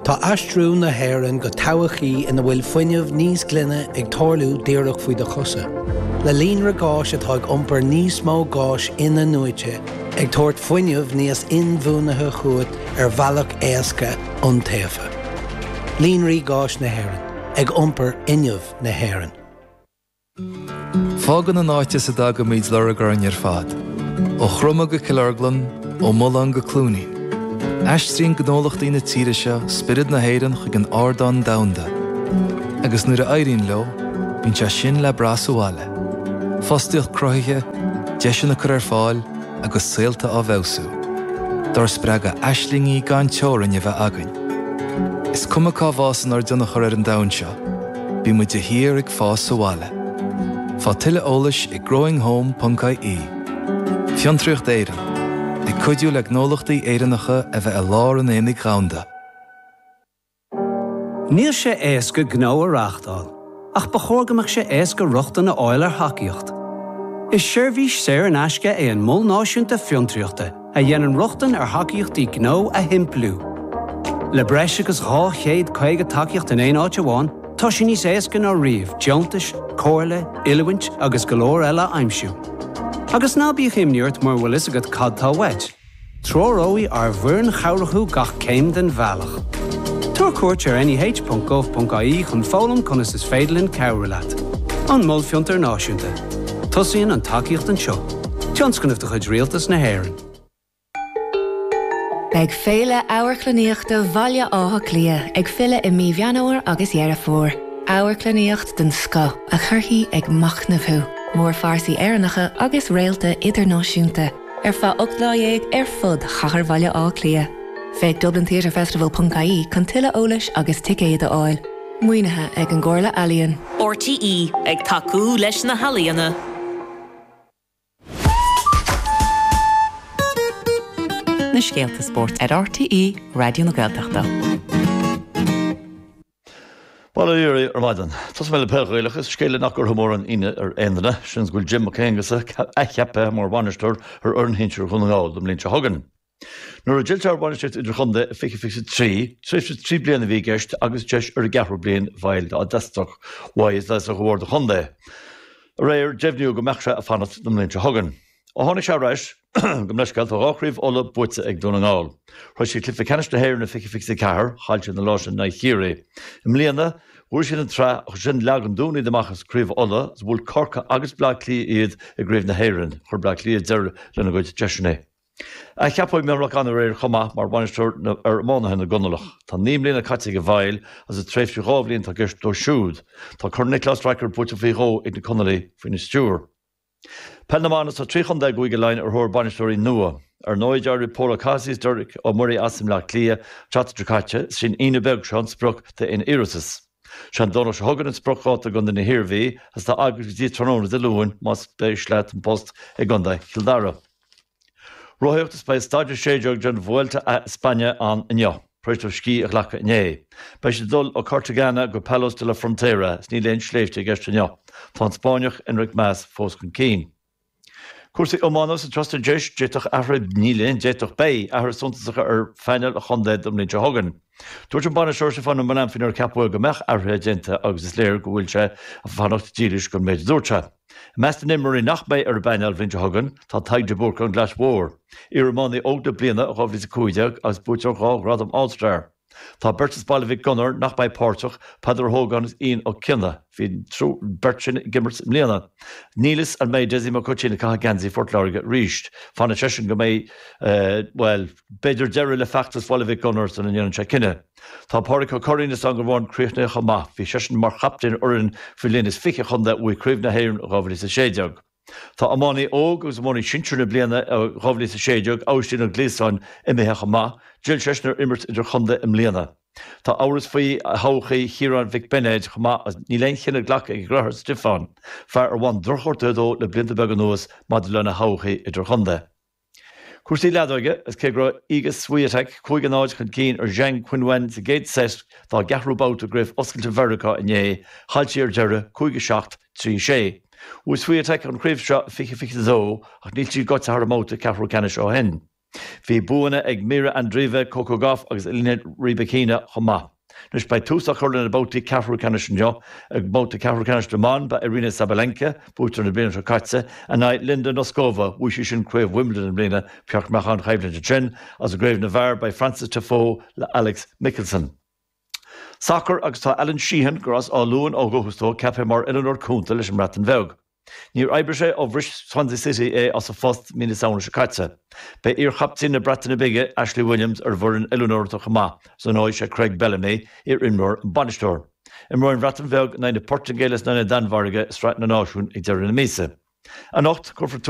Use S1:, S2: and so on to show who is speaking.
S1: Tá aistriú na hÉireann go todhchaí ina bhfuil fuinneamh níos glaine ag tarlú díreach faoi do chosa. Le líonra gáis atá ag iompar níos mó gáis in-athnuaite, ag tabhairt fuinneamh níos inbhuanaithe chugat ar bhealach éasca, iontaofa. Líonraí Gáis na hÉireann, ag iompar fhuinneamh na hÉireann.
S2: Fágann an áit as a dtagaimid lorg orainn ar fad, ó Chromtha go Cill Orglan, ó Mullán go Cluainín. Aistríonn gnólachtaí na tíre seo spiorad na hÉireann chuig an ardán domhanda. Agus nuair a éiríonn leo, bíonn sé sin le brath sa bhaile. Fostaíocht cruthaithe, deiseanna curtha ar fáil agus saolta á bhfeabhsú. Dár spreagadh aislingí gan teorainn a bheith againn. Is cuma cá bhfásann ár dtionchar ar an domhan seo, Bíonn muid de shíor ag fás sa bhaile. Faigh tuilleadh eolais ag growinghome.ie. Fiontraíocht Éireann, ag cuidiú le gnólachtaí Éireannacha a bheith i lár an aonaigh dhomhanda.
S3: Níl sé éasca gnó a reáchtáil, ach ba chóir go mbeadh sé éasca rochtain a fháil ar thacaíocht. Is seirbhís saor in aisce é an Mol Náisiúnta Fiontraíochta a dhéanann rochtain ar thacaíochtaí gnó a shimpliú. Le breis agus 250 tacaíocht in aon áit amháin, tá sé níos éasca ná riamh deontais, comhairle, oiliúint agus go leor eile a aimsiú. Agus ná bíodh imní ort mura bhfuil fhios agat cad tá uait, treoróidh ár bhfoireann chabhrach thú gach céim den bhealach. Tabhair cuairt ar neh.gov.ie chun foghlaim conas is féidir linn cabhrú leat. An Mol Fiontair Náisiúnta. Tosaíonn an tacaíocht anseo. Tionscnamh de chuid Rialtas na hÉireann.
S4: Beidh Féile Amharclannaíochta Bhaile Átha Cliath ag filleadh i mí Mheán Fhómhair agus Dheireadh Fómhair. Amharclannaíocht den scoth a chuirfidh ag machnamh thú. Mórphearsaí Éireannacha agus réalta idirnáisiúnta ar feadh 18 lá ar fud chathair Bhaile Átha Cliath. Féach dublintheatrefestival.ie chun tuilleadh eolais agus ticéid a fháil. Maoinithe ag an gComhairle Ealaíon.
S5: RTÉ, ag tacú leis na healaíona.
S6: Na scéalta spóirt ar RTÉ Raidió na Gaeltachta.
S7: Bail ó Dhia oraibh ar maidin. Tosóidh mé le peil Ghaelach is scéal é nach gcuirfeadh mórán ionadh ar aon duine, seans go bhfuil Jim Mac Aonghusa athcheaptha mar bhainisteoir ar fhoireann shinsir Dhún na nGall don mbliain seo chugainn. Nuair a d'fhill sé ar bhainistíocht idirchontae i 2023, tréimhse 3 bliana a bhí i gceist agus deis ar an gceathrú bliain bhail dá dteastódh uaidh is dá dteastódh ó bhord an chontae aréir deimhniú go mbeadh sé ag fanacht don mbliain seo chugainn. Ó tháinig sé ar ais, gabh mo leithscéal, tá dhá chraobh Uladh buaite ag Dún na nGall. Shroich siad cluiche ceannais na hÉireann i 2024, chaill siad an lá sin in aghaidh Chiarraí. I mbliana, bhuaigh siad an tsraith ach ansin leag an Dún iad amach as Craobh Uladh agus bhuail Corcaigh agus Bleá Cliath iad i gCraobh na hÉireann. Chuir Bleá Cliath deireadh lena gcuid deiseanna. Athcheapadh Micheál Mac Annaidh aréir chomh maith mar bhainisteoir ar iománaithe na gConallach. Tá 9 mbliana caite ag Mhicheál agus is tréimhse dhá bhliain atá i gceist dó siúd. Tá Corn Niocláis Sraicear buaite faoi dhó ag na Conallaigh faoina stiúir. Peil na mBan, Tá 3 chontae i gCúige Laighean ar thóir bainisteoirí nua. Ar ndóigh, d'éirigh Pól Ó Cathasaigh is Derek Ó Muirí as i mBleá Cliath an tseachtain seo caite, is í an Aoine beag seo an sprioc d'aon iarratas. Sé an Domhnach seo chugainn an spriocdháta i gcontae na hIarmhí agus tá agat go dtí tráthnóna Dé Luain más spéis leat an post i gcontae Chill Dara. Rothaíocht Is beidh staid 16 den Vuelta a España ann inniu, tar éis dóibh scíth a ghlacadh inné. Beidh siad ag dul ó Cartagena go Palos de la Frontera is níl aon sléibhte i gceist inniu. Tá an Spáinneach Enric Mas fós chun cinn. Cúrsaí iomána sa Trasna Deis, d'fhéadfadh athruithe, níl aon d'fhéadfadh, beidh athruithe suntasacha ar phainéal an chontae don mbliain seo chugainn. Dúirt an bainisteoir Stiofán Ó Maolanfaoin nuair a ceapadh é go mbeadh athruithe déanta agus is léir go bhfuil sé ag fanacht dílis don méid a dúirt sé. I measc na n-imreoirí nach mbeidh ar an bpainéal an bhliain seo chugainn tá Tadhg de Búrca ón gClais Mhór, iariománaí óg na bliana i 2015 agus buaiteoir dhá ghradam All Star. Tá beirt as Baile Mhic Gonair nach mbeidh páirteach, Peadar Ó hÓgáin agus Ian Ó Cionnaith. Bhí an bheirt sin ag imirt i mbliana. Níl fhios an mbeidh Dessie Mac Uitín ag caitheamh geansaí Phort Láirge arís. Fanfaidh seisean go mbeidh, bhuel, b'fhéidir deireadh le feachtas Bhaile Mhic Gonair sula ndéanann sé cinneadh. Tá Pádraig Ó Curraoin as Eanach Mhóin críochnaithe chomh maith. Bhí seisean mar chaptaen ar fhoireann faoi bhliain is 20 an chontae a bhuaigh Craobh na hÉireann i 2016. Tá iománaí óg agus iománaí sinsir na bliana 2016, Aibhistín Ó Gliasáin, imithe chomh maith. D'fhill seisean ar imirt idirchontae i mbliana. Tá amhras faoi thodhchaí Chiaráin Mhic Beinéid chomh maith agus níl aon chinneadh glactha ag a dheartháir Stiofán, fear ar bhain drochghortuithe dó le blianta beaga anuas, maidir lena thodhchaí idirchontae. Cúrsaí leadóige, Is cé go raibh Iga Swiatek 5-0 chun cinn ar Zheng Qinwen sa gcéad seit dá gceathrú babhta i gCraobh Oscailte Mheiriceá inné, chaill sí ar deireadh, 5-7, 3-6. Bhuaigh Swiatek an chraobh seo i 2022 ach níl sí gaibhte thar an mbabhta ceathrú ceannais ó shin. Bhí buanna ag Mirra Andreeva, Coco Gauff agus Elena Rybakina chomh maith. Anois beidh tús á chur le na babhtaí ceathrú ceannais inniu. I mbabhta ceathrú ceannais na mban, beidh Aryna Sabalenka, buaiteoir na bliana seo caite, in aghaidh Linda Noskova, bhuaigh sí sin craobh Wimbledon i mbliana, ba cheart go mbeadh an-choimhlint ansin. Agus i gcraobh na bhfear, beidh Frances Tiafoe le Alex Michelsen. Sacar agus tá Alan Sheehan, gur as Áth Luain ó dhúchas dó, ceaptha mar oiliúnóir cúnta leis an mBreatain Bheag. Níor oibrigh sé ó bhris Swansea City é as a phost mí na Samhna seo caite. Beidh iar-chaptaen na Breataine Bige, Ashley Williams, ar an bhfoireann oiliúnóireachta chomh maith, is ar ndóigh sé Craig Bellamy, iar-imreoir, an bainisteoir. Imreoidh an Bhreatain Bheag in aghaidh na Portaingéile is in aghaidh na Danmhairge i Sraith na Náisiún ag deireadh na míosa. Anocht, cuirfear tús.